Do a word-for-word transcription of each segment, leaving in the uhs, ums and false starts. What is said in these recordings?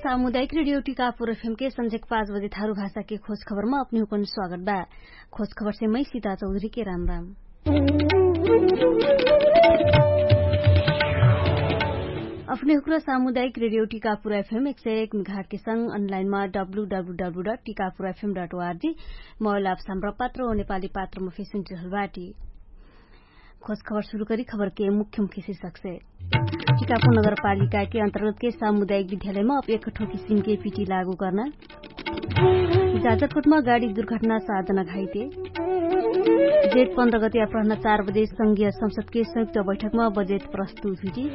सामुदायिक रेडियो टिकापुर एफएम के संझेक पाँच बजे थारु भाषा के खोज खबर मा अपने हुकन स्वागत बा। खोज खबर से मै सीता चौधरी के राम राम। अपने हुक्र सामुदायिक रेडियो टिकापुर एफएम एक सय एक मेघाट के संग अनलाइन मा W W W dot Tikapur FM dot ORG mobile app Hamro पात्र ओ नेपाली पात्र मा फेसुन चहल बाटी। खोज खबर सुरु करी खबर के मुख्य मुख्य शीर्षक से। टिकापुर नगरपालिका के अन्तर्गत के सामुदायिक विद्यालय मा अब एक ठो किसिम के पिटी लागू कर्ना। जाजरकोट मा गाडी दुर्घटना सात जना घाइते। जेठ पन्ध्र गते अपराहना चार बजे संघीय संसद के संयुक्त बैठक मा बजेट प्रस्तुत हुइटी।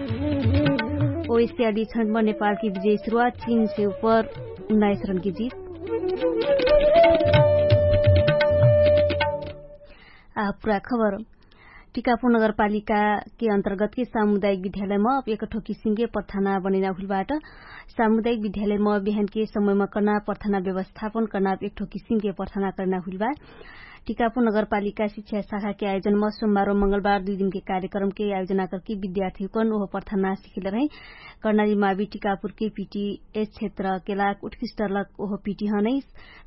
ओइस्याली छन्ट मा नेपाल के विजय सुरुवात चीन से उपर उन्नाइस रन के जीत। आ पुरा खबर। टिकापुर नगरपालिका के अन्तर्गत के सामुदायिक विद्यालय मा अब एक ठो किसिम के प्रथाना बनैना हुइल बाट। सामुदायिक विद्यालय मा बिहान के समय मा कर्ना प्रथाना व्यवस्थापन कर्ना एक ठो किसिम के प्रथाना कर्ना हुइल बा। टिकापुर नगरपालिका शिक्षा शाखा के आयोजन मा सोमबार ओ मंगलबार दुइ दिन के कार्यक्रम के आयोजना करके विद्यार्थी हुकन ओह प्रथाना सिखिल रहे। कर्णाली मावी टिकापुर के पिटी एस क्षेत्र के लाग उत्कृष्ट लक ओह पिटी हनै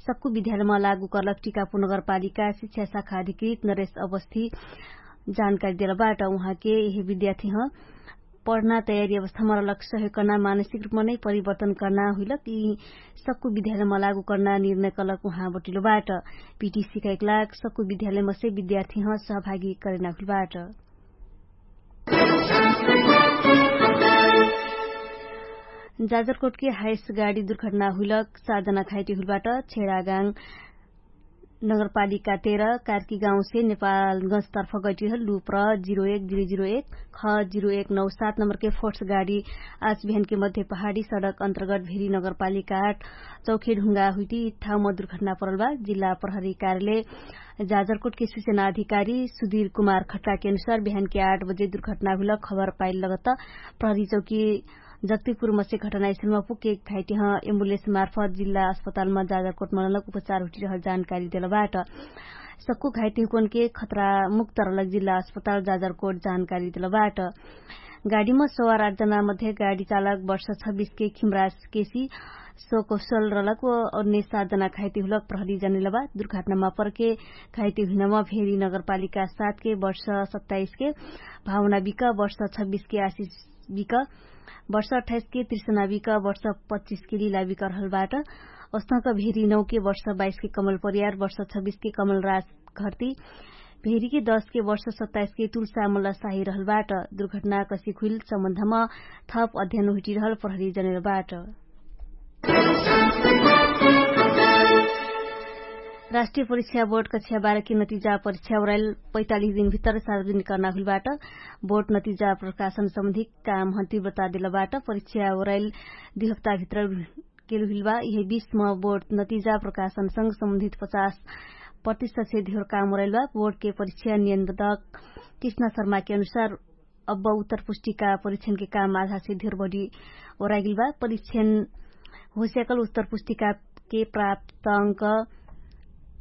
सक्कु विद्यालय मा लागू कर्लक टिकापुर नगरपालिका शिक्षा शाखा अधिकृत नरेश अवस्थी जानकारी देल बाट। उहाँ के यही विद्यार्थी ह पढना तयारी अवस्था मा रहलक सहयोग कर्ना मानसिक रुपमा नै परिवर्तन कर्ना हुइलक यि सक्कु विद्यालय मा लागू कर्ना निर्णय कर्लक उहाँ बटिलो बाट। पिटी सिकाइक लाग सक्कु विद्यालय मसे विद्यार्थी ह सहभागी करेना हुइल बाट। जाजरकोट के हाइस गाडी दुर्घटना हुइलक सात जना घाइटी हुइल बाट। छेडागाङ नगरपालिका तेह्र कार्की गाउँसे नेपालगञ्जतर्फ गैटिरहल लुप्र जिरो एक जिरो जिरो एक ख जिरो एक नौ सात नम्बरके फोर्स गाडी आज बिहानके मध्य पहाडी सडक अन्तर्गत भेरी नगरपालिका आठ चौखे ढुङ्गा हुइटी ठाउँमा दुर्घटना परल बा। जिल्ला प्रहरी कार्यालय जाजरकोटके सूचना अधिकारी सुधीर कुमार खट्टाके अनुसार बिहानके आठ बजे दुर्घटना हुइल खबर पाइल लगत प्रहरी चौकी जक्तिपुर मसे घटनास्थलमा पुगके घाइटिह एम्बुलेन्स मार्फत जिल्ला अस्पतालमा जाजाकोट मनलक उपचार हुटिरहल जानकारी देलबाट। सक्कु घाइटिहुकनके खतरा मुक्त रहलक जिल्ला अस्पताल जाजारकोट जानकारी देलबाट। गाडीमा सवार आठ जना मध्ये गाडी चालक वर्ष छब्बिसके खिमराज केसी सो कौशल रहलक व अन्य सात जना घाइटिहुलक प्रहरी जनेलबा। दुर्घटनामा परके घाइटिहुइनमा भेरी नगरपालिका सातके वर्ष सत्ताइसके भावना बिका वर्ष छब्बिसके आशिष बिक वर्ष अठाइसके त्रिसना बिक वर्ष पच्चिसके लिला बिक रहलबाट। अस्तक भेरी नौके वर्ष बाइसके कमल परियार वर्ष छब्बिसके कमल राज घर्ती भेरीके दसके वर्ष सत्ताइसके तुलसा मल्ल साही रहलबाट। दुर्घटना कसिक हुइल सम्बन्धमा थप अध्ययन हुइटिरहल प्रहरी जनेलबाट। राष्ट्रिय परिक्षा बोर्ड कक्षा बाह्रके नतिजा परिक्षा ओराइल पैतालिस दिनभित्र सार्वजनिक कर्ना हुइलबाट। बोर्ड नतिजा प्रकाशन सम्बन्धिक काम हन्ति बतादेलबाट परिक्षा ओराइल दुइ हप्ताभित्र केलुहिलबा यिहे बिसमा बोर्ड नतिजा प्रकाशनसँग सम्बन्धित पचास प्रतिशतसे धेर काम ओराइलबा। बोर्डके परिक्षा नियन्त्रक कृष्ण शर्माके अनुसार अब उत्तर पुष्टिका परिक्षणके काम आधासे धेर बढी ओराइगेलबा। परिक्षण होस्याकल उत्तर पुस्तिकाके प्राप्त अंक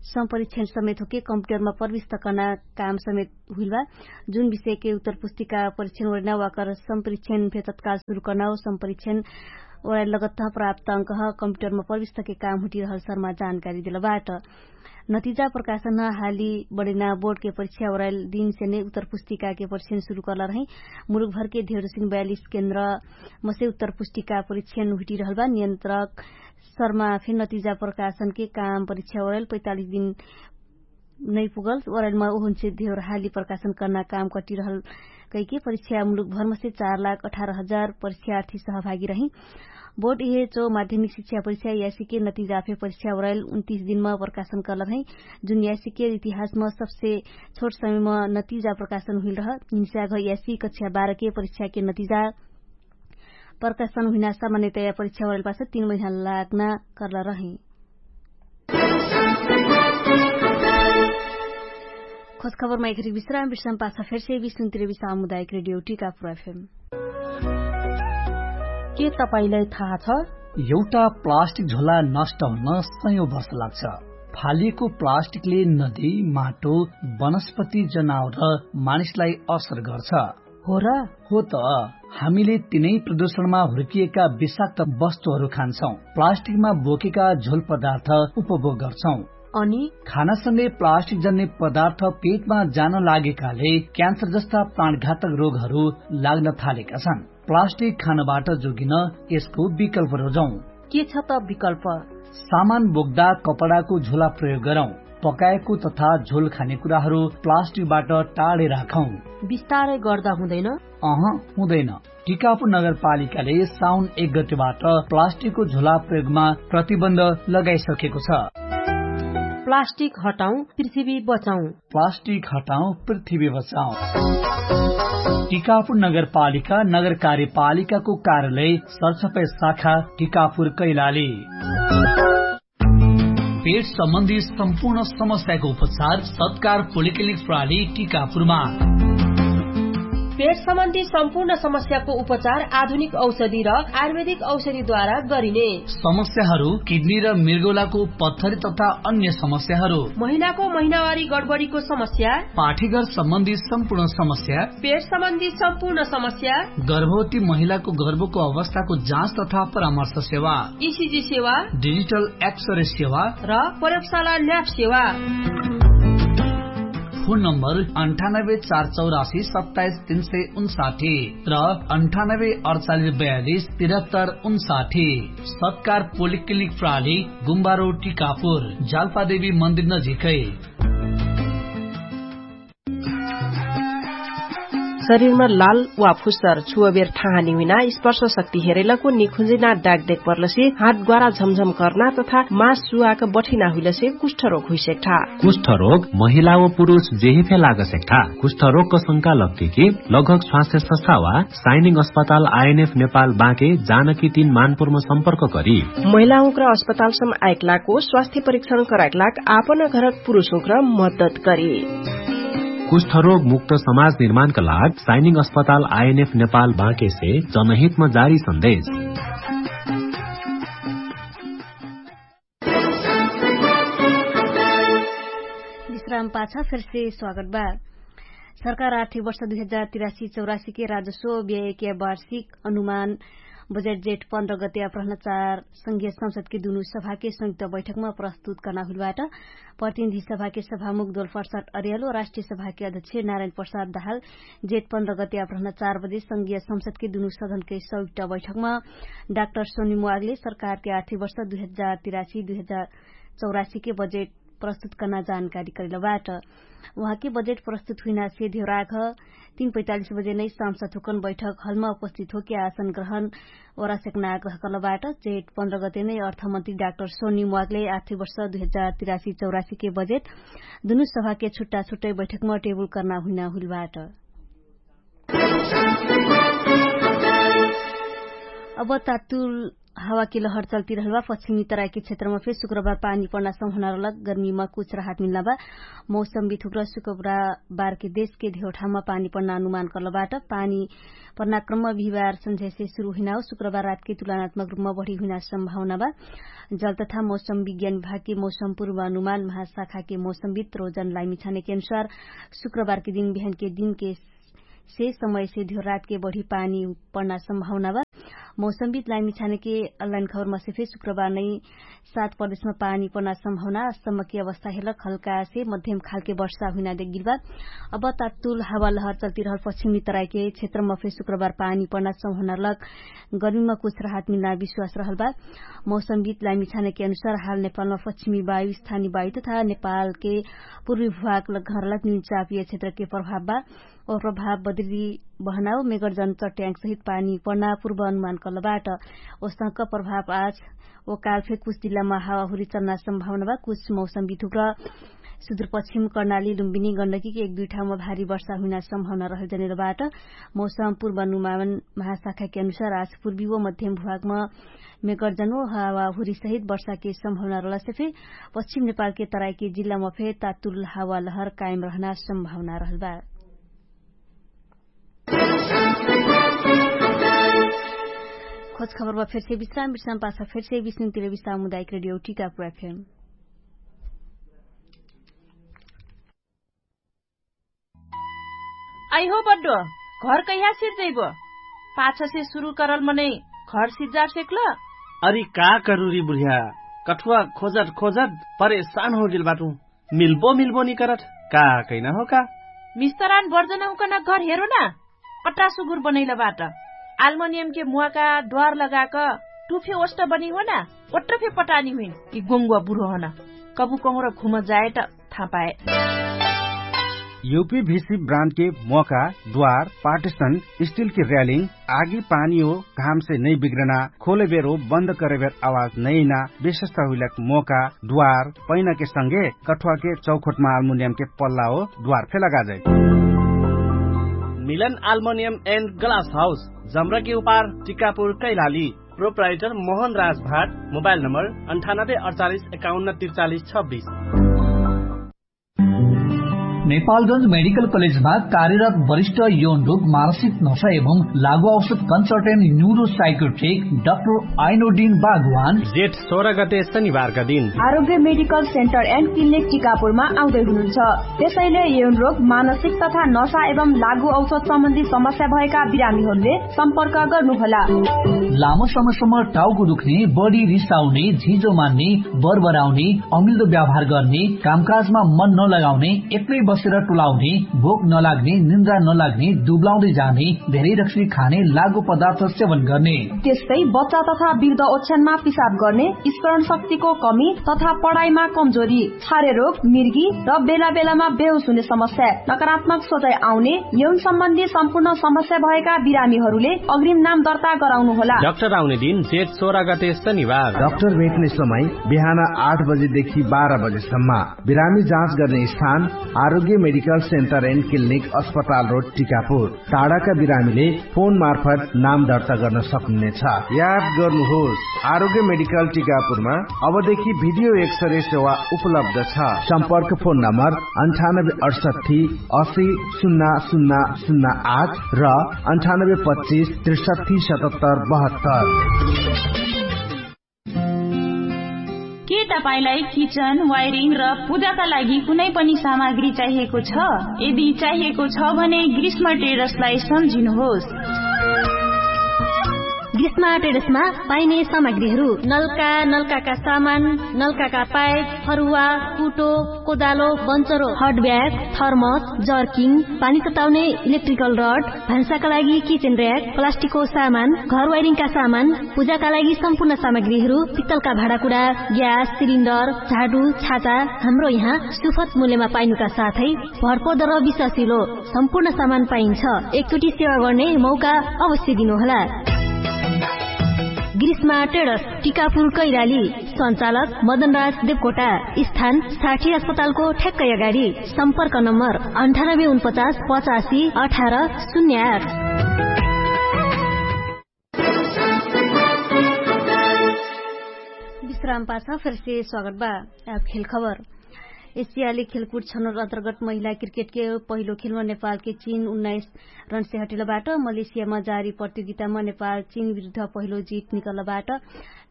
सम्परिक्षण समेत होके कम्प्युटरमा प्रविष्ट कर्ना काम समेत हुइलबा। जुन विषयके उत्तर पुस्तिका परिक्षण ओरैना वाकर सम्परिक्षण फे तत्काल सुरु कर्ना हो सम्परिक्षण ओराइ लगत्त प्राप्त अंक ह कम्प्युटरमा प्रविष्टके काम हुटिरहल शर्मा जानकारी देलबाट। नतिजा प्रकाशन ह हाली बडेना बोर्डके परिक्षा ओराइल दिनसे नै उत्तर पुस्तिकाके परिक्षण सुरु कर्ला रहै। मुलुकभरके धेरसिन बयालिस केन्द्र मसे उत्तर पुस्तिका परिक्षण हुटिरहलबा नियन्त्रक शर्मा फे नतिजा प्रकाशनके काम परिक्षा ओराइल पैतालिस दिन नैपुगल ओराइलमा उहुन्से धेर हाली प्रकाशन कर्ना काम कटिरहल कैके परिक्षा मुलुकभरमसे चार लाख अठार हजार परिक्षार्थी सहभागी रही। बोर्ड इहे चो माध्यमिक शिक्षा परिक्षा यासीके नतिजा फे परिक्षा ओराइल उन्तिस दिनमा प्रकाशन कर्ला रहै। जुन यासीके इतिहासमा सबसे छोट समयमा नतिजा प्रकाशन हुइल रह हिंस्याघ यासी कक्षा बाह्रके परिक्षाके नतिजा प्रकाशन हुइना सामान्यतया परिक्षा ओराइलपास तीन महिना लाग्ना कर्ला रहै। खोजखबरमा एखरी विश्राम विश्राम पाछा फेरसे विष्णुतिर विश्राम मुदायक रेडियो टिकापुर एफएम। के तपाईंलाई थाहा छ? एउटा प्लास्टिक झोला नष्ट हुन सयौं वर्ष लाग्छ। फालिएको प्लास्टिकले नदी, माटो, वनस्पति, जनावर र मानिसलाई असर गर्छ। हो र? हो त। हामीले तिनै प्रदूषणमा हुर्किएका विषाक्त वस्तुहरू खान्छौँ, प्लास्टिकमा बोकेका झोल पदार्थ उपभोग गर्छौँ। अनि खानासँगै प्लास्टिक जन्ने पदार्थ पेटमा जान लागेकाले क्यान्सर जस्ता प्राणघातक रोगहरू लाग्न थालेका छन्। प्लास्टिक खानबाट जोगिन यसको विकल्प रोजौँ। के छ त विकल्प? सामान बोक्दा कपडाको झोला प्रयोग गरौँ। पकाएको तथा झोल खाने कुराहरू प्लास्टिकबाट टाढे राखौँ। बिस्तारै गर्दा हुँदैन? अह, हुँदैन। टिकापुर नगरपालिकाले साउन एक गतेबाट प्लास्टिकको झोला प्रयोगमा प्रतिबन्ध लगाइसकेको छ। प्लास्टिक हटाउँ, पृथ्वी बचाउँ। प्लास्टिक हटाउँ, पृथ्वी बचाउँ। टिकापुर नगरपालिका नगर कार्यपालिकाको कार्यालय सरसफाइ शाखा टिकापुर कैलाली। पेट सम्बन्धी सम्पूर्ण समस्याको उपचार सत्कार पोलिक्लिनिक प्रणाली टिकापुरमा। पेट सम्बन्धी सम्पूर्ण समस्याको उपचार आधुनिक औषधि र आयुर्वेदिक औषधिद्वारा गरिने। समस्याहरू किडनी र मृगौलाको पत्थरी तथा अन्य समस्याहरू। महिनाको महिनावारी गडबडीको समस्या। पाठीघर सम्बन्धी सम्पूर्ण समस्या। पेट सम्बन्धी सम्पूर्ण समस्या। गर्भवती महिलाको गर्भको अवस्थाको जाँच तथा परामर्श सेवा। इसिजी सेवा। डिजिटल एक्सरे सेवा। र प्रयोगशाला ल्याब सेवा। फोन नम्बर अन्ठानब्बे चार चौरासी सत्ताइस तीन सय उन्साठी र अन्ठानब्बे अडचालिस बयालिस तिरहत्तर उन्साठी। सत्कार पोलिक्लिनिक प्रणाली, गुम्बारो टिकापुर, जाल्पादेवी मन्दिर नजिकै। शरीरमा लाल वा फुस्सर छुवबेर ठाहानी हुइना स्पर्श शक्ति हेरैलको निखुन्जिना डाक देख पर्लसी हात ग्वारा झमझम कर्ना तथा मास सुवाक बठिना हुइलसे कुष्ठरोग हुइसेक्ठा। कुष्ठरोग महिला व पुरुष जेहे फे लागसेक्ठा। कुष्ठरोगक शंका लग्तिकी लगभग स्वास्थ्य सस्था वा साइनिङ अस्पताल आइएनएफ नेपाल बाँके जानकी तीन मानपुरमा सम्पर्क करी। महिलाहुँक्र अस्पतालसम आइकलाको स्वास्थ्य परीक्षण कराइकलाक आपन घरक पुरुषहुँक्र मद्दत करी। कुष्ठरोग मुक्त समाज निर्माणका लाग साइनिङ अस्पताल आइएनएफ नेपाल बाँकेसे जनहितमा जारी सन्देश। विश्राम पाछा फेरसे स्वागत बा। सरकार आर्थिक वर्ष दुई हजार तिरासी चौरासी के राजस्व व्ययके वार्षिक अनुमान बजेट जेठ पन्ध्र गते अपराहन चार संघीय संसदके दुनु सभाके संयुक्त बैठकमा प्रस्तुत कर्ना हुइलबाट। प्रतिनिधि सभाके सभामुख दोलफर्साट अरियालो राष्ट्रिय सभाके अध्यक्ष नारायण प्रसाद दहाल जेठ पन्ध्र गते अपराहन चार बजे संघीय संसदके दुनु सदनके संयुक्त बैठकमा डाक्टर सोनी मुवागले सरकारके आर्थिक वर्ष दुई हजार तिरासी दुई हजार चौरासी के बजेट प्रस्तुत कर्ना जानकारी करिलबाट। उहाँके बजेट प्रस्तुत हुइनासे धेउराघ तीन पैतालिस बजे नै सांसद हुकन बैठक हलमा उपस्थित होके आसन ग्रहण ओरासेक्ना आग्रह कर्लबाट। जेठ पन्ध्र गते नै अर्थमन्त्री डाक्टर सोनी मुवागले आर्थिक वर्ष दुई हजार तिरासी चौरासी के बजेट दुनु सभाके छुट्टा छुट्टै बैठकमा टेबुल कर्ना हुइना हुइलबाट। अब तातुल हावाके लहर चल्तिरहलबा। पश्चिमी तराइके क्षेत्रमा फेर शुक्रबार पानी पण्ना सम्भावना रहलक गर्मीमा कुछ राहत मिल्ना बा। मौसम बिथुक्र शुक्रबारके देशके धेउठामा पानी पण्ना अनुमान कर्लबाट। पानी पण्ना क्रममा बिहिबार सन्झ्यासे सुरु हुइना हो शुक्रबार रातके तुलनात्मक रूपमा बढी हुइना सम्भावना बा। जल तथा मौसम विज्ञान विभागके मौसम पूर्व अनुमान महाशाखाके मौसम बित रोजन लाइमिछानेके अनुसार शुक्रबारके दिन बिहानके दिनके से समयसे धियो रातके बढी पानी पण्ना सम्भावना बा। मौसम बित लाइमिछानेके अनलाइन खबरमासे फेर शुक्रबार नै सात प्रदेशमा पानी पण्ना सम्भावना अस्तमकी अवस्था हेलक हल्कासे मध्यम खालके वर्षा हुइना देगिलबा। अब तातुल हावा लहर चल्तिरहल पश्चिमी तराइके क्षेत्रमा फेर शुक्रबार पानी पण्ना सम्भावना लक गर्मीमा कुछ राहत मिल्ना विश्वास रहलबा। मौसम बित लाइमिछानेके अनुसार हाल नेपालमा पश्चिमी वायु स्थानी वायु तथा नेपालके पूर्वी भुवाक लग्घरलक निम्चापिय क्षेत्रके प्रभाव बा। ओ प्रभाव बद्री बहनाउ मेगरजन चट्याङ्ग सहित पानी पण्ना पूर्व अनुमान कलबाट। ओसंक प्रभाव आज ओ काल फे कुछ जिल्लामा हावाहुरी चल्ना सम्भावना बा। कुछ मौसम बिथुक्र सुदूरपश्चिम कर्णाली लुम्बिनी गण्डकीके एक दुई ठाउँमा भारी वर्षा हुइना सम्भावना रहल जनेलबाट। मौसम पूर्व अनुमान महाशाखाके अनुसार आज पूर्वी व मध्यम भुवाकमा मेगरजन व हावाहुरी सहित वर्षाके सम्भावना रहलसे फे पश्चिम नेपालके तराइके जिल्लामा फे तातुल हावा लहर कायम रहना सम्भावना रहलबा। खोज खबरमा फेरसे विश्राम विश्राम पाछा फेरसे विश्राम तिरबी सामुदायिक रेडियो टिकापुर एफएम। आइहो बड्डो, घर कहिया सिर जैबो? पाछसे सुरु करल मनै घर सिज्जार सेक्ल। अरि का करुरी बुढ्या? कठुवा खोजत खोजत परेशान होगेल बाटु। मिल्बो मिल्बो निकरत। का कैना हो का? मिस्तरान बर्जन हुकन घर हेरो ना। अट्टा सुगुर बनैल बाट। आल्मनियमके मुवाका द्वार लगाक टुफे ओष्ट बनी हो ना। ओट्ट फे पटानी हुइन कि गोङ्गुवा बुढो हन। कबु कहुँर घुम जाए त थापाए। युपी भिसी ब्रान्डके मोका द्वार पार्टिसन स्टिलके र्यालिङ आगी पानी हो घामसे नै बिग्रना खोले बेर हो बन्द करे बेर आवाज नैना विशेषता हुइलक मोका द्वार पैनाके संगे कठुवाके चौखोटमा आल्मुनियमके पल्ला हो द्वार फे लगाजै। मिलन आल्मुनियम एन्ड ग्लास हाउस जम्रकी उपार टिकापुर कैलाली। प्रोप्राइटर मोहन राजभाट। मोबाइल नम्बर अन्ठानब्बे अडचालिस एकाउन्न त्रिचालिस छब्बिस। नेपालगंज मेडिकल कलेजमा कार्यरत वरिष्ठ यौन रोग मानसिक नशा एवं लागु औषध कन्सल्टेन्ट न्युरो साइकोट्रिक डाक्टर आइनोडिन बागवान जेठ सोह्र गते शनिबारका दिन आरोग्य मेडिकल सेन्टर एन्ड क्लिनिक टिकापुरमा आउँदै हुनुहुन्छ। त्यसैले यौन रोग मानसिक तथा नशा एवं लागु औषध सम्बन्धी समस्या भएका बिरामीहरूले सम्पर्क गर्नुहोला। लामो समयसम्म टाउको दुख्ने, बढी रिसाउने, झिजो मान्ने, बरबराउने, अमिल्दो व्यवहार गर्ने, कामकाजमा मन नलगाउने, एक्लै बसेर टुलाउने, भोक नलाग्ने, निन्द्रा नलाग्ने, दुब्लाउँदै जाने, धेरै रक्सी खाने, लागु पदार्थ सेवन गर्ने। त्यस्तै बच्चा तथा वृद्ध ओछ्यानमा पिसाब गर्ने, स्मरण शक्तिको कमी तथा पढाइमा कमजोरी, छारे रोग, मिर्गी र बेला बेलामा बेहोस हुने समस्या, नकारात्मक सोचाइ आउने, यौन सम्बन्धी सम्पूर्ण समस्या भएका बिरामीहरूले अग्रिम नाम दर्ता गराउनु होला। डाक्टर आउने दिन जेठ सोह्र गते शनिबार। डाक्टर भेट्ने समय बिहान आठ बजेदेखि बाह्र बजेसम्म। बिरामी जाँच गर्ने स्थान आरोग्य मेडिकल सेन्टर एन्ड क्लिनिक अस्पताल रोड टिकापुर। टाढाका बिरामीले फोन मार्फत नाम दर्ता गर्न सक्नुहुनेछ। याद गर्नुहोस, आरोग्य मेडिकल टिकापुरमा अबदेखि भिडियो एक्सरे सेवा उपलब्ध छ। सम्पर्क फोन नम्बर अन्ठानब्बे अडसट्ठी असी सुन्ना सुन्ना सुन्ना आठ र अन्ठानब्बे पच्चिस त्रिसट्ठी सतहत्तर बहत्तर। के तपाईंलाई किचन, वायरिङ र पूजाका लागि कुनै पनि सामग्री चाहिएको छ? यदि चाहिएको छ भने ग्रीष्म ट्रेडर्सलाई सम्झिनुहोस्। ग्रीष्म ट्रेडर्समा पाइने सामग्रीहरू नल्का, नल्काका सामान, नल्काका पाइप, फरुवा, कुटो, कोदालो, बन्चरो, हटब्याग, थर्मस, जर्किङ, पानी तताउने इलेक्ट्रिकल रड, भान्साका लागि किचेन र्याक, प्लास्टिकको सामान, घर वाइरिङका सामान, पूजाका लागि सम्पूर्ण सामग्रीहरू, पित्तलका भाँडाकुडा, ग्यास सिलिन्डर, झाडु, छाता, हाम्रो यहाँ सुफत मूल्यमा पाइनुका साथै भरपर्दो र विश्वासिलो सम्पूर्ण सामान पाइन्छ। एकचोटि सेवा गर्ने मौका अवश्य दिनुहोला। ग्रीष्मा ट्रेडर्स, टिकापुर कैराली। सञ्चालक मदनराज देवकोटा। स्थान साठी अस्पतालको ठ्याक्कै अगाडि। सम्पर्क नम्बर अन्ठानब्बे उनपचास पचासी अठार शून्य आठ। विश्राम पाछ फेरसे स्वागत बा। आब खेल खबर। एसियाली खेलकुट छनौट अन्तर्गत महिला क्रिकेटके पहिलो खेलमा नेपालके चिन उन्नाइस रनसे हटिलबाट। मलेसियामा जारी प्रतियोगितामा नेपाल चिन विरुद्ध पहिलो जित निकलबाट।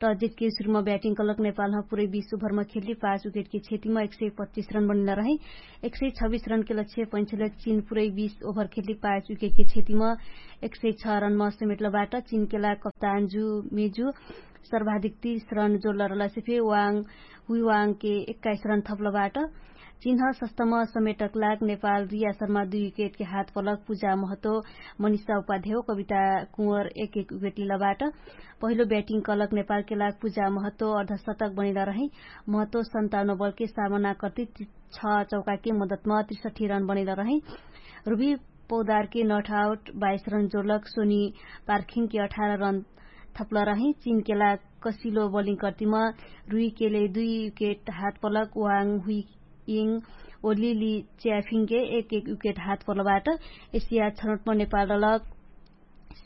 टस जितके सुरुमा ब्याटिङ कलक नेपालमा पुरै बीस ओभरमा खेल्ली पाँच विकेटके क्षतिमा एक सय पच्चिस रन बनिला रहे। एक सय छब्बिस रनके लक्ष्य पैछले चिन पुरै बीस ओभर खेल्ली पाँच विकेटके क्षतिमा एक सय छ रनमा समेटलबाट। चिनके लाग कप्तान जु मेजु सर्वाधिक तीस रन जोडल रहलसे फे वाङ हुइवाङके एक्काइस रन थप्लबाट। चिन्ह सस्तम समेटक लाग नेपाल रिया शर्मा दुई विकेटके हात पलक पूजा महतो, मनिषा उपाध्याय, कविता कुँवर एक एक विकेट लिलबाट। पहिलो ब्याटिङ कलक नेपालके लाग पूजा महतो अर्धशतक बनिल रहे। महतो सन्ताउन्न बलके सामना कर्ति छ चौकाके मदतमा त्रिसठी रन बनिल रहे। रुबी पौदारके नट आउट बाइस रन जोडलक सोनी पार्खिङके अठार रन थप्ल रहे। चिनके लाग कसिलो बलिङ कर्तिमा रुइकेले दुई विकेट हात पलक वाङ हुइङ ओलिली च्याफिङके एक एक विकेट हात पलबाट। एसिया छनौटमा नेपाल रलक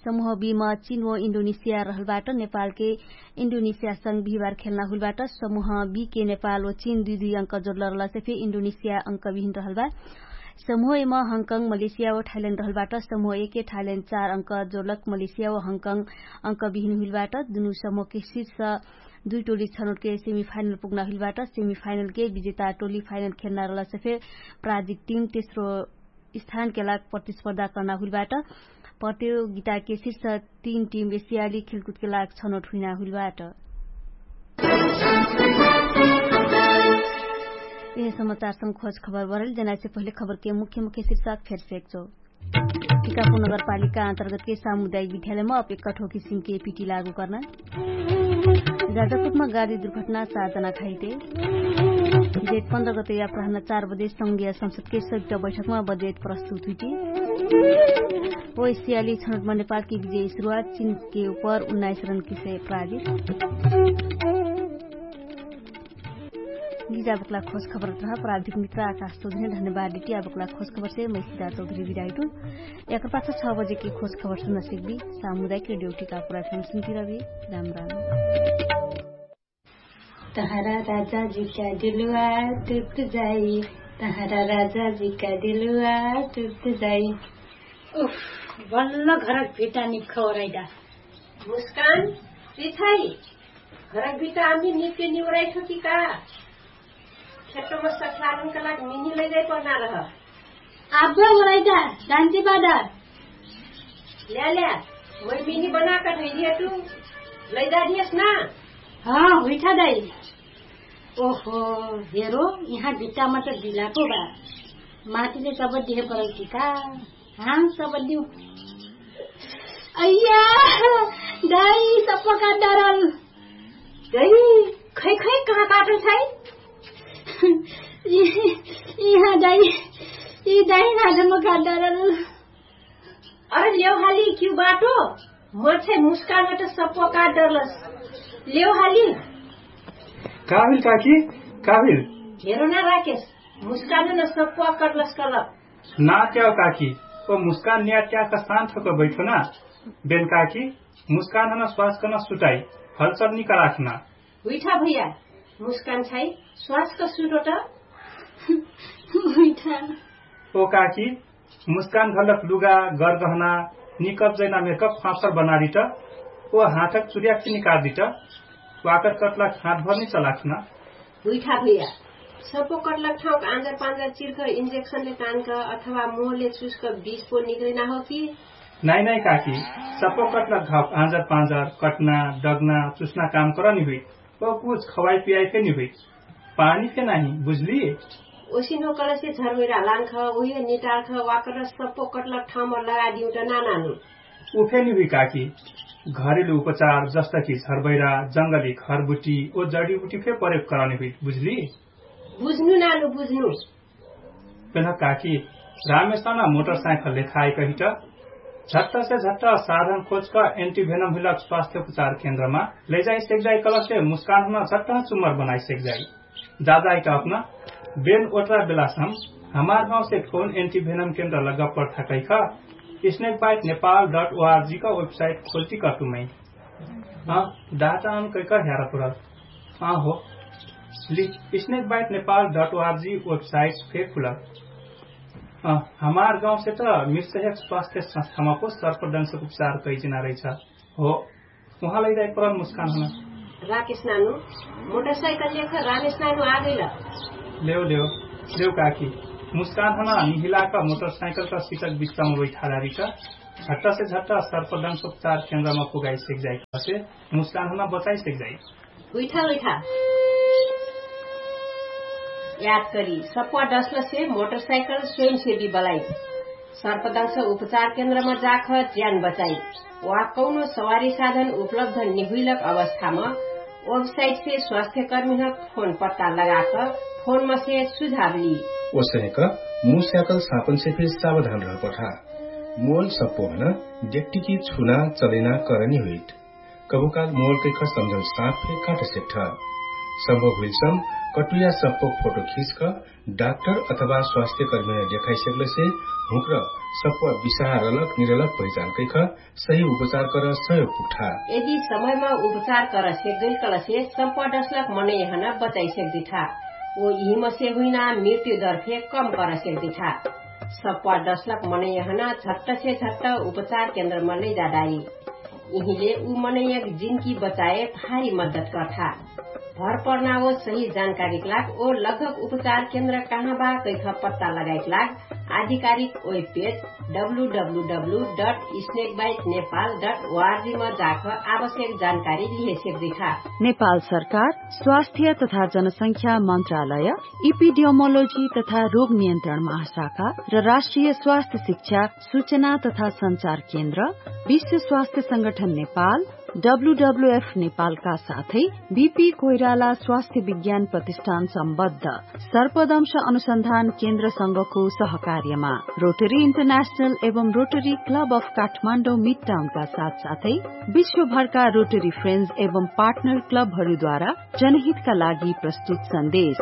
समूह बीमा चिन ओ इन्डोनेसिया रहलबाट। नेपालके इन्डोनेसियासँग बिहिबार खेल्ना हुलबाट। समूह बीके नेपाल ओ चिन दुई दुई अङ्क जोडल रहलसे फे इन्डोनेसिया अङ्क बिहिन रहलबा। समूह एमा हङकङ मलेसिया ओ थाइल्याण्ड रहलबाट। समूह एके थाइल्याण्ड चार अङ्क जोडलक मलेसिया ओ हङकङ अङ्क बिहिन हुलबाट। दुनु समूहके शीर्ष दुई टोली छनौटके सेमिफाइनल पुग्ना हुलबाट। सेमिफाइनलके विजेता टोली फाइनल खेल्ना रहलसे फे प्राजिक टिम तेस्रो स्थानके लाग प्रतिस्पर्धा कर्ना हुलबाट। प्रतियोगिताके शीर्ष तीन टिम एसियाली खेलकुदके लाग छनोट हुइना हुइलबाट। यह समाचारसँग खोज खबर बरल जनाइसे पहिले खबरके मुख्य मुख्य शीर्षक फेर सेक्चो। टिकापुर नगरपालिका अन्तर्गतके सामुदायिक विद्यालयमा अप एक्कठो किसिमके पिटी लागू कर्ना। राजापुरमा गाडी दुर्घटना सात जना खाइते। जेठ पन्ध्र गते याप्राहना चार बजे संघिया संसदके सयुक्त बैठकमा बजेट प्रस्तुत हुइटी। ओइसियाली छनोटमा नेपालके विजय सुरुवात चिनके उपर उन्नाइस रनके से प्राजित। गिजा बक्ला खोज खबर रह प्राविधिक मित्र आकाश चौधरी धन्यवाद डिटी आ बक्ला खोज खबर से मैसिदा चौधरी विदाइटुन। एकर पाछ छ बजे के खोज खबर सुन्न सिक्बी। सामुदायिक रेडियो टिका पुरा फम सुन्ती रबी। राम राम। तहरा राजा जी का दिलवा टुट जाई। तहरा राजा जी का दिलवा टुट जाई। उफ, बल्ल घरक भिटा निखौराइदा। मुस्कान, रिछाई, घरक भिटा आमी निपे निवराइठो कि का? खेतोमा सख्यारन का लाग मिनी लैजाइ पर्ना रह। आबे ओराइदा, दान्ती बादा। ल्या ल्या, मै मिनी बनाकर धैलिया तु लैजा दियस ना। हाँ हुइठा दाई। ओहो, हेरो, यहाँ भिट्टामा त दिलाको बा। माटीले सब दिहे परौटी का? हाँ सब दिउ। अइया, दाई सप्पा का डरल। दाई, खै खै कहाँ काटल छै? यहाँ दाई, यी दाई नाजम का डरल। अरे लेउ हाली क्यु बाटो? मर्छे मुस्कान त सप्पो काट डरलस। लेउ हाली। का भिल काकी? का भिल? हेरो ना राकेश, मुस्कान न सप्पो करलस कलक। ना त्याउ काकी, ओ मुस्कान न्या त्या कसान थोक बैठो ना। बेन काकी, मुस्कान हन स्वास कन सुटाई, हलचल निकराखना। हुइठा भैया, मुस्कान छाई स्वास क सुटो त। हुइठा। ओ काकी, मुस्कान घलक लुगा गरगहना निकब जैना मेकअप फाँसर बनारिट, ओ हाथक चुर्याक निकारदिट, वाकर कटलक हाथ भर नि चलाखना। हुइठा भैया, सपो कटलक ठाउक आँजर पाँजर चिर्ख इन्जेक्सनले तानक अथवा मोहले चुस्क बिस पो निकरिना हो कि? नाइ नाइ काकी, सपो कटलक ठाउक आँजर पाँजर कटना, डगना, चुस्ना काम करनि हुइ। ओ कुछ खवाइ पियाइ फेनि हुइ। पानी फे नाहि बुझली। ओसिन हो कलसे झरबैरा लान्ख उहे निटार्ख वाकर सप्पो कटलक ठाउमा लगादिउ त नानानु। उफे निहुइ काकी, घरेलु उपचार जस्तकि झरबैरा, जंगली घरबुटी ओ जडीबुटी फे प्रयोग करने हुइ बुझली। बुझ्नु नानु बुझ्नु। पेन्ह काकी, रामेशना मोटरसाइकल लेखाए कहिट झट्टसे झट्ट साधन खोजक एन्टिभेनम हुइलक स्वास्थ्य उपचार केन्द्रमा लैजाइ सेक्जाइ कलसे मुस्कानहुन झट्ट चुमर बनाइ सेक्जाइ। जाजाइ का अपना बेन ओटरा बेलासम हमार गाउँसे कौन एन्टिभेनम केन्द्र लग्गा पर्थाकैख snake bite Nepal dot ORG का वेबसाइट खोल्टी कटुमै। डाटा अन कैका ह्यारा पुरल। हो, snake bite Nepal dot ORG website fake हुलक। हमार गाउँसे त मिर्सहेक स्वास्थ्य संस्थामा पो सर्पदंशक उपचार कैजिना रैछ। हो, उहाँ लैजाइ परल मुस्कान हन। राकेश नानु, मोटरसाइकल लेख रामेश नानु आगैल। लेउ लेउ, लेउ काकी, मुस्कान हन निहिलाक मोटरसाइकल का सिटक बिच्चामा बैठारारी का झट्टसे झट्ट सर्पदंश उपचार केन्द्रमा पुगाइ सेक्जाइ कसे मुस्कान हन बचाइ सेक्जाइ। हुइठा हुइठा। याद करी सप्वा डसलसे मोटरसाइकल स्वयंसेवी बलाइ सर्पदंश उपचार केन्द्रमा जाख ज्यान बचाइ। वा कौनो सवारी साधन उपलब्ध निहुइलक अवस्थामा वेबसाइटसे स्वास्थ्यकर्मीहक फोन पत्ता लगाक फोनमसे सुझाव ली। ओसहेक मुस्याकल सापनसे फे सावधान रहपठा। मोल सप्पोभन डेक्टिकी छुना चलैना करनी हुइट। कभुकाल मोल कैख सम्झल साप फे काट सेक्ठ। सम्भव हुइलसम कटुया सप्पो फोटो खिचक डाक्टर अथवा स्वास्थ्यकर्मीन देखाइ सेक्लसे हुँक्र सप्पो बिसहा रलक निरलक पहिचान कैख सही उपचार कर सहयोग पुग्ठा। यदि समयमा उपचार कर सेक्गैल कलसे सप्पो डसलक मनैहन बचाइ सेक्दिठा। ओ यिहिमसे हुइना मृत्यु दर फे कम कर सेक्दिठा। सप्पो डसलक मनैहन झट्टसे झट्ट उपचार केन्द्रमा लैजादारी। यिहिले उ मनैयक जिन्की बचाए भारी मद्दत कर्ठा। भर पर्ना ओ सही जानकारीक लाग ओ लगभग उपचार केन्द्र कहाँ बा कैख पत्ता लगाइक लाग आधिकारिक web page W W W dot snake bite Nepal dot O R G मा जाख आवश्यक जानकारी लिहे सक्दिखा। नेपाल सरकार स्वास्थ्य तथा जनसंख्या मन्त्रालय, इपिडियोमोलोजी तथा रोग नियन्त्रण महाशाखा र राष्ट्रिय स्वास्थ्य शिक्षा, सूचना तथा सञ्चार केन्द्र, विश्व स्वास्थ्य संगठन नेपाल, डब्ल्यूडब्ल्यूएफ नेपालका साथै बिपी कोइराला स्वास्थ्य विज्ञान प्रतिष्ठान सम्बद्ध सर्पदंश अनुसन्धान केन्द्रसँगको सहकार्यमा रोटरी इन्टरनेशनल एवं रोटरी क्लब अफ काठमाडौँ मिडटाउनका साथसाथै विश्वभरका रोटरी फ्रेन्ड्स एवं पार्टनर क्लबहरूद्वारा जनहितका लागि प्रस्तुत सन्देश।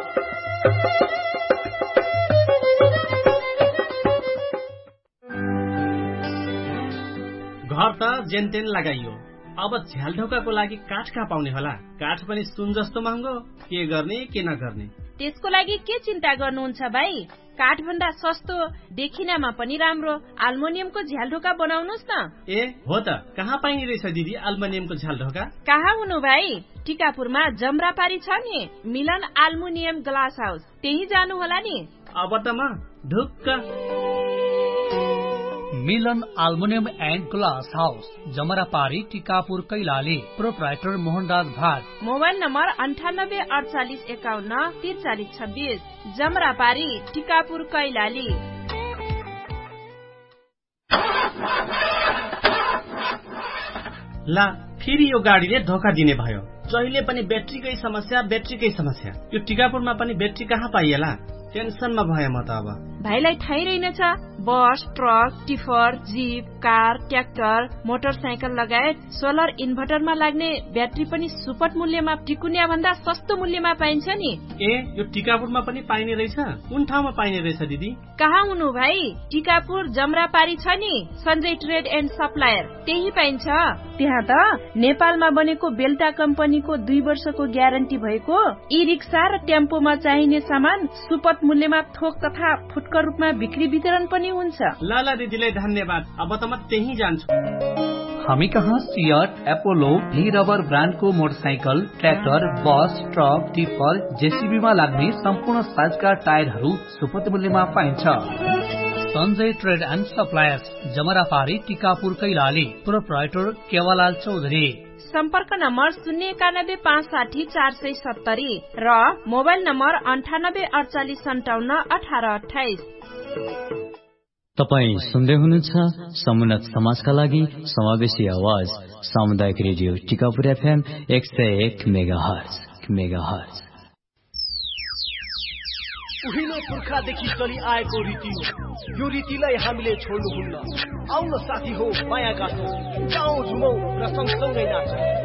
घर त जेनतेन लगाइयो, अब झ्यालढोकाको लागि काठ कहाँ पाउने होला? काठ पनि सुन जस्तो महँगो। के गर्ने के नगर्ने? त्यसको लागि के चिन्ता गर्नुहुन्छ भाइ? काठभन्दा सस्तो, देखिनामा पनि राम्रो आल्मोनियमको झ्यालढोका बनाउनुस् न। ए हो त, कहाँ पाइने रहेछ दिदी आल्मोनियमको झ्यालढोका? कहाँ हुनु भाइ? टिकापुरमा जमरापारी छ नि, मिलन आल्मुनियम ग्लास हाउस, त्यही जानु होला नि। अब त म ढुक्क। मिलन आल्मुनियम एन्ड ग्लास हाउस, जमरापारी टिकापुर कैलाली। प्रोप्राइटर मोहनराज भाट। मोबाइल नम्बर अन्ठानब्बे अडचालिस एकाउन्न तिरचालिस छब्बिस। जमरापारी टिकापुर कैलाली। ला, फेरि यो गाडीले धोका दिने भयो। जहिले पनि ब्याट्रीकै समस्या, ब्याट्रीकै समस्या। यो टिकापुरमा पनि ब्याट्री कहाँ पाइएला? टेन्सनमा भए म त अब। भाइलाई थाहै रहेनछ, बस, truck, tipper, zip, car, tractor, motorcycle लगायत सोलर इन्भर्टरमा लाग्ने ब्याट्री पनि सुपट मूल्यमा टिकुन्याभन्दा सस्तो मूल्यमा पाइन्छ नि। ए, यो टिकापुरमा पनि पाइने रहेछ? कुन ठाउँमा पाइने रहेछ दिदी? कहाँ हुनु भाइ? टिकापुर जमरापारी छ नि, सञ्जय ट्रेड एन्ड सप्लायर, त्यही पाइन्छ। त्यहाँ त नेपालमा बनेको बेल्टा कम्पनीको दुई वर्षको ग्यारेन्टी भएको ई रिक्सा र टेम्पोमा चाहिने सामान सुपट मूल्यमा थोक तथा फुटकर रूपमा बिक्री वितरण पनि हुन्छ। ल ल दिदीलाई धन्यवाद, अब त म त्यही जान्छु। हामी कहाँ सियट, एपोलो, भी रबर ब्रान्डको मोटरसाइकल, ट्र्याक्टर, बस, ट्रक, टिपर, जेसिबीमा लाग्ने सम्पूर्ण साइजका टायरहरू सुपट मूल्यमा पाइन्छ। सञ्जय ट्रेड एन्ड सप्लायर्स, जमरापारी, टिकापुर कैलाली। प्रोप्राइटर केवालाल चौधरी। सम्पर्क नम्बर शून्य एकानब्बे पाँच साठी चार सय सत्तरी र मोबाइल नम्बर अन्ठानब्बे अडचालिस सन्ताउन्न अठार अट्ठाइस। तपाईँ सुन्दै हुनुहुन्छ समुन्नत समाजका लागि समावेशी आवाज, सामुदायिक रेडियो टिकापुर एफएम एक सय एक मेगाहर्ज। मेगाहर्ज। उहिले पुर्खादेखि चलिआएको रीति हो। यो रीतिलाई हामीले छोड्नुहुन्न। आउन साथी हो, माया गाँसौँ, गाउँ झुमौँ र सँगसँगै नाचौँ।